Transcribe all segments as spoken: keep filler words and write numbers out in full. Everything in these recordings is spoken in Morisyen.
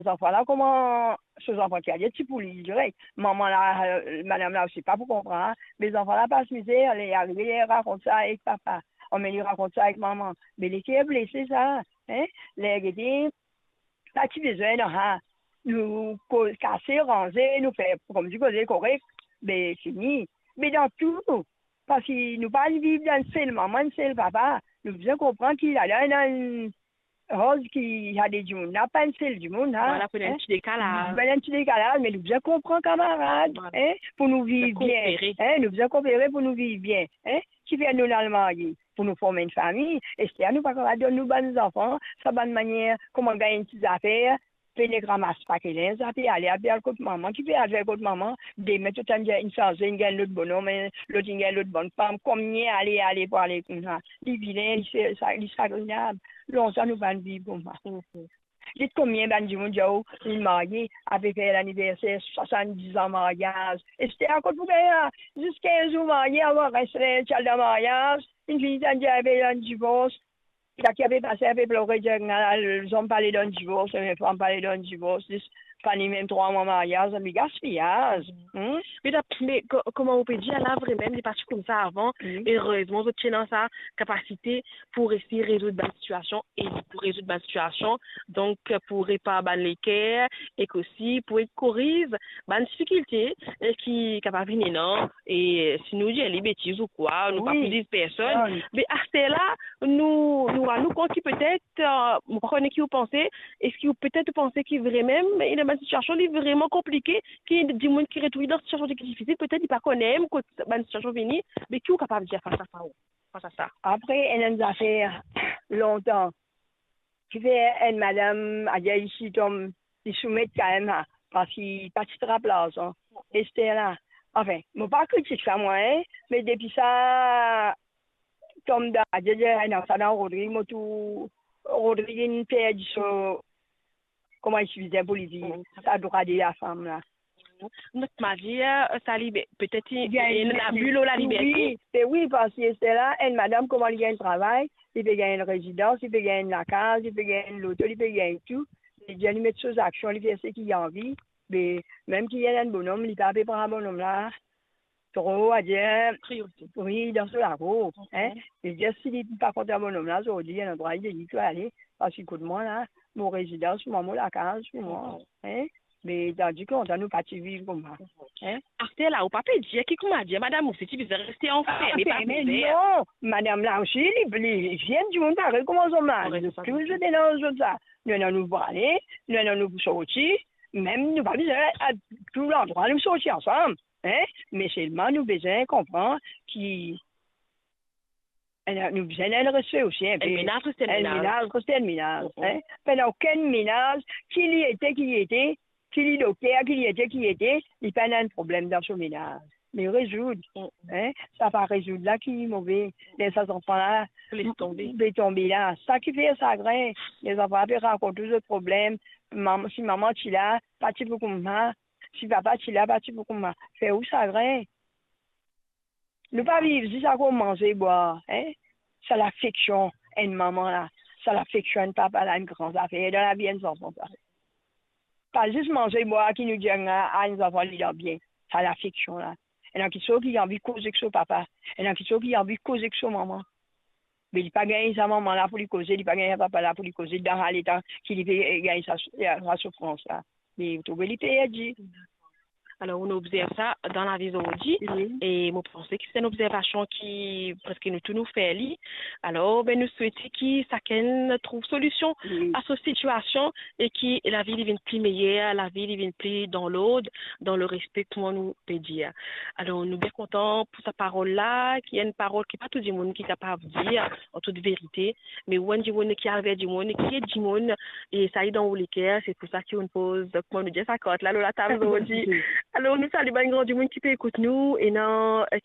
zanfan la, kouma so zanfan ti ale ti pou li direk. Manman la, eh, madam la osi pa pou konpran. Me zanfan la pas mizer, li arive, li rakont sa ek papa. Anben, li rakont sa ek manman. Me leker blese sa, hein? Ler gete, pa ti bizin dan sa. Nou koz, kase, ranze, nou fer koumsi koze korek, be fini. Me dan tou, parski nou pa viv dan enn sel manman, enn sel papa. Nou bizin konpran ki ladan ena enn roz ki ena de dimoun, napa enn sel dimoun, ha, Vwala, pou ena enn hein? Ti dekalaz. Pou ena enn ti dekalaz, me nou bizin konpran kamarad, Vwala. Hein, pou nou viv Bizin bien, koopere. Hein, nou bizin koopere pou nou viv bien, hein. Kifer nou al marye? Pou nou form enn fami. Ester, nou pa kapav donn nou bann zanfan sa bann manier kouma gagn enn ti zafer, pe nek ramas pake linz, ape ale, ape al kot manman, ki pe al fer kot manman. Demin to tann dir inn sanze, inn gagn lot bonom, lot inn gagn lot bannfam, konbien ale, ale pou ale koumsa. Li vilin, li sa-, li sagrinab. Lontan nou pa'nn viv koumsa. Mhm. Get konbien bann dimoun dir ou, inn marye, ape fer laniverser swasann-diz an maryaz. Ester, kot pou gagn la? Zis kinz zour marye, avan res, ti al dan maryaz, inn fini tann dir, ape dan divors. Sa ki ape pase, ape plore, dir, "Ala, zom pa le dan divors, me fam pa le dan divors, zis fini mem trwa mwa maryaz, me gaspiyaz." Hmm? Me dap-, me ko-, kouma ou pe dir la, vremem, li pa ti koumsa avan. Hmm. Erezman, zot ti ena sa kapasite pou resi rezoud bann sitiasion e pou rezoud bann sitiasion, donk, pou repar bann leker, ek osi pou ed koriz bann difikilte, eh, ki kapav vini, non? E si nou dir li betiz ou kwa, nou pa Wi. pou diz personn. Non. Me aster la, nou, nou rann nou kont ki petet, eh, mo pa kone ki ou panse, eski ou petet ou panse ki vremem, ena bann sitiasion li vreman konplike, ki dimoun ki retrouv li dan sitiasion ki difisil, petet li pa kone mem kot bann sitiasion vini, me ki ou kapav dir fas a sa, fas a sa? Apre, ena enn zafer lontan, kifer enn madam, adir isi tom, li soumet kanmem, ha, parski pa ti trap larzan. Ester la. Anfin, mo pa kritik sa mwa, hein, me depi sa tom dan, adir, adir, ena sa dan Rodrig, mo tou, Rodrig inn perdi so, kouma li ti bizin pou li dir, Mm. sa drwa de lafam la. Not madir, eh, sa li be-, petet li, Gagn li ena labi lor laliberté. Wi, be wi, parski Ester la, enn madam, kouma li gagn travay, li pe gagn enn rezidans, li pe gagn enn lakaz, li pe gagn enn loto, li pe gagn tou. Li dir li met so zaksion, li fer seki li anvi, be mem ki ena enn bonom, li pa pe pran bonom la tro, adir, Priorite. wi, dan so lakour, Ok. hein. Li dir si li pa kontan bonom la, zordi, ena drwa li dir li pe ale, parski kot mwa la, mo rezidans pou mwa, mo lakaz pou mwa, Ok. hein. Me tandi ki lontan nou pa ti viv koumsa, hein. Aster la, ou pa pe dir ki kouma dir madam osi ti bizin reste anferme, pa Anferme, bizin. non. Madam la osi, li, li, li enn dimoun parey kouma zot la. Parey, Zot sa, touzour zot. ena zot sa. Nou ena nou pou ale, nou ena nou pou sorti. Mem nou pa bizin al tou landrwa nou sorti ansam, hein. Me selman nou bizin konpran ki, eh, nou bizin enn respe osi, enn Enn pe. menaz reste enn Enn menaz. menaz reste enn menaz, Mhm. hein. Pena okenn menaz, ki li ete, ki li ete, ki li dokter, ki li ete, ki li ete, li pena enn problem dan so menaz. Me rezoud, Mm. hein, sa pa rezoud la ki move. Ler sa zanfan la Les tonbe. pe tonbe la. Sa ki fer sagrin, lezanfan la pe rakont tou zot problem. Mam-, si manman ti la, pa ti pou koumsa. Si papa ti la, pa ti pou koumsa. Fer ou sagrin. Nou pa viv zis akoz manze, bwar, hein? Sa lafeksion enn manman la, sa lafeksion enn papa la, enn gran zafer dan lavi enn zanfan sa. Pa zis manze, bwar ki nou dir a, a enn zanfan li dan bien. Sa lafeksion la. Ena kiksoz ki anvi koz ek so papa. Ena kiksoz ki anvi koz ek so manman. Me li pa gagn sa manman la pou li koze, li pa gagn sa papa la pou li koze, dan sa leta ki li pe gagn sa, sa soufrans la. Me ou trouve li perdi. Alor, nou obzerv sa dan lavi zordi, Wi. e mo panse ki se enn obzervasion ki preske nou tou nou fer li. Alor, be, nou swete ki sakenn trouv solision Wi. a so sitiasion e ki lavi li vinn pli meyer, lavi li vinn pli dan lord, dan lerespe, kouma nou pe dir. Alor, nou bien kontan pou sa parol la, ki enn parol ki pa tou dimoun ki kapav dir an tout verite, me ou enn dimoun ki al ver dimoun, ki ed dimoun, e sa li dan ou leker, se pou sa ki ou'nn poz, kouma nou dir, sa kart la lor latab zordi. Alor, nou salie bann gran dimoun ki pe ekout nou, ena,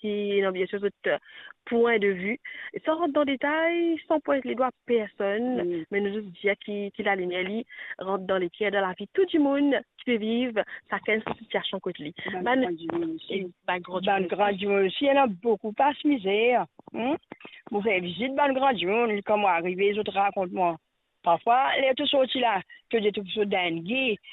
ki ena biensir zot pwin de vi. San rant dan detay, san pwint ledwa personn, Mm. me nou zis dir ki, ki lalimier li rant dan leker, dan lavi tou dimoun ki pe viv, sakenn so sitiasion kot li. Bann Bann, gran dimoun osi. e bann gran Bann dimoun gran osi. dimoun osi, ena boukou pas mizer, hmm? Mo fer vizit bann gran dimoun, kan mo arive, zot rakont mwa. Parfwa, ler to sorti la, to dir to pou sot dan enn ge,